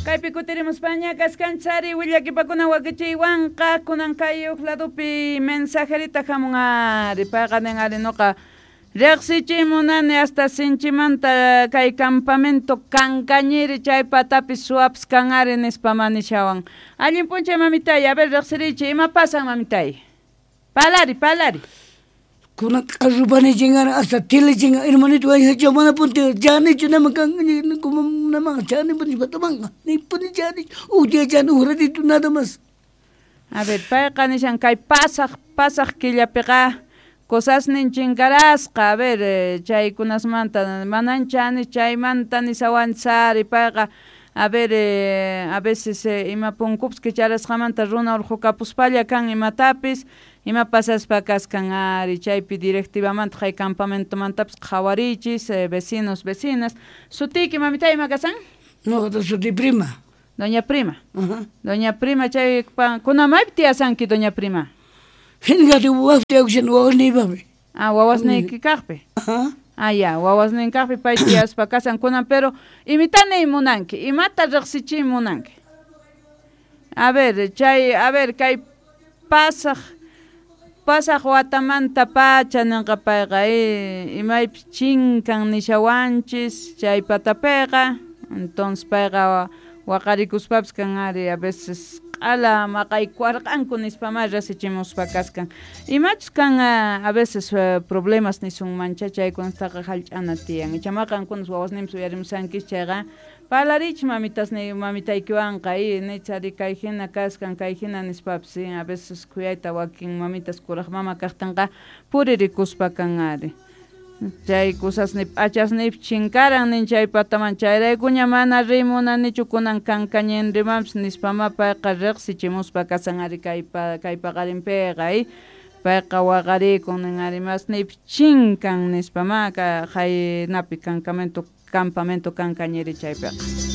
Kaypi kutirimuspaña kaskanchis ari willakipakuna wakichiywanqa kunan kay uj ladopi mensajerita hamun ari payqa nin ari noqa riqsichiy munani hasta sinchimanta kay campamento Cancañiri chay patapi suwapas kan ari nispa manishawan. Allin p'unchay mamitay, a ver riqsirichi, ima pasan mamitay? Palari, palari. Kunan q'arrupani chingan hasta tele chingan hermanito wayhacha mana punti chanichu nama kan nama chani puni patamanga ni puni chani uj día chani uj ratito nada más. A ver, payqa nishan kay pasaq pasaq killapiqa cosasnin chinkarasqa, a ver, chaykunasmanta manan chani chaymanta nisawanchis ari payqa a ver, a veces ima punkupis kicharasqamanta runa urqukapuspalla kan imatapis, ima pasaspa kaskan ari chaypi directivamanta hay campamentomantapis qhawariychis vecinos, vecinas. Sutiyki mamitay ima kasan? Noqata suti Prima. Doña Prima. Doña Prima chay kuna maypi tiyasanki doña Prima? Hinqati wawaspi tiyakushan wawasniypaqmi. Ah, wawasniyki kaqpi. Ah, ya, wawasnin kaqpi pay tiyaspa kasan kunan, pero imita niy munanki, imata riqsichiy munanki. A ver, chay, a ver, kay pasaq pasaq watamanta pacha ninqa payqa imaypis chinkan nishawanchis chay patapiqa, entonces payqa waqarikuspapis kan ari a veces q'ala maqaykuwarqanku nispamá riqsichimuspa kaskan. Imachus kan a veces problemas nisunmancha chaykunataqa hallch'ana tiyan. Icha maqankunas wawasninpis uyarimusankis chayqa parlariychis mamitasniy mamitaykiwanqa nich ari kay hina kaskan kay hina nispapis a veces khuyayta wakin mamitas kuraq mama kaqtinqa puririkuspa kan ari. Chay cosasni p'achasniypis chinkaran nin chay pataman chayraykuña mana riy munanichu kunan Cancañinrimanpis nispama payqa riqsichimuspa kasan ari kay paqarinpiqa payqa waqarikun nin ari masniypis chinkan nispama haynapi campamento Cancañiri chaypiqa.